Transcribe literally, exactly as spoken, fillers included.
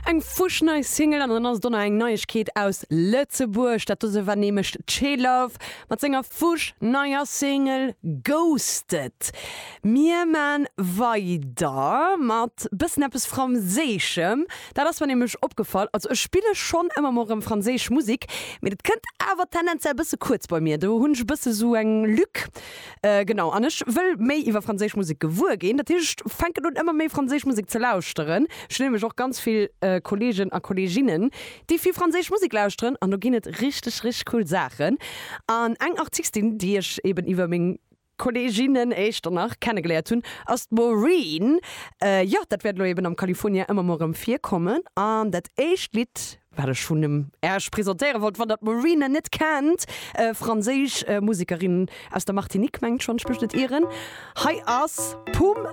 Eng fuschnei Single an dann ass do nach eng Neiegkeet aus Lëtzebuerg. Dat dose war nämlech d'She-Love mat senger fuschneier Single Ghosted. Mir man weider mat bëssen eppes Franséischem. Dat ass mir nämlech opgefall. Also ech spille schonn ëmmer mol erëm franséisch Musek, mee dat kënnt awer tendenziell bësse kuerz bei mir. Do hunn ech bësse sou eng Lück. Äh, genau. An ech wëll méi iwwer franséisch Musek gewuer ginn. Dat heescht, ech fänken un ëmmer méi franséisch Musek ze lauschteren. Ech hunn nämlech och ganz vill äh, Kollegen a Kolleginnen, déi vill franséisch Musek lauschteren an do ginn et richteg richteg cool Saachen. An eng Artistin, déi ech eben iwwer meng Kolleginnen éischter nach kennegeléiert hunn, ass d'Maureen. Äh, jo, dat wäert lo eben am California ëmmer mol erëm virkommen. An dat éischt Lidd, wat ech vun em Iech presentéiere wollt, wann der d'Maureen net kennt, äh, franséisch äh, Musekerin aus der Martinique, mengen ech, wann ech mech net ieren. Hei ass Poum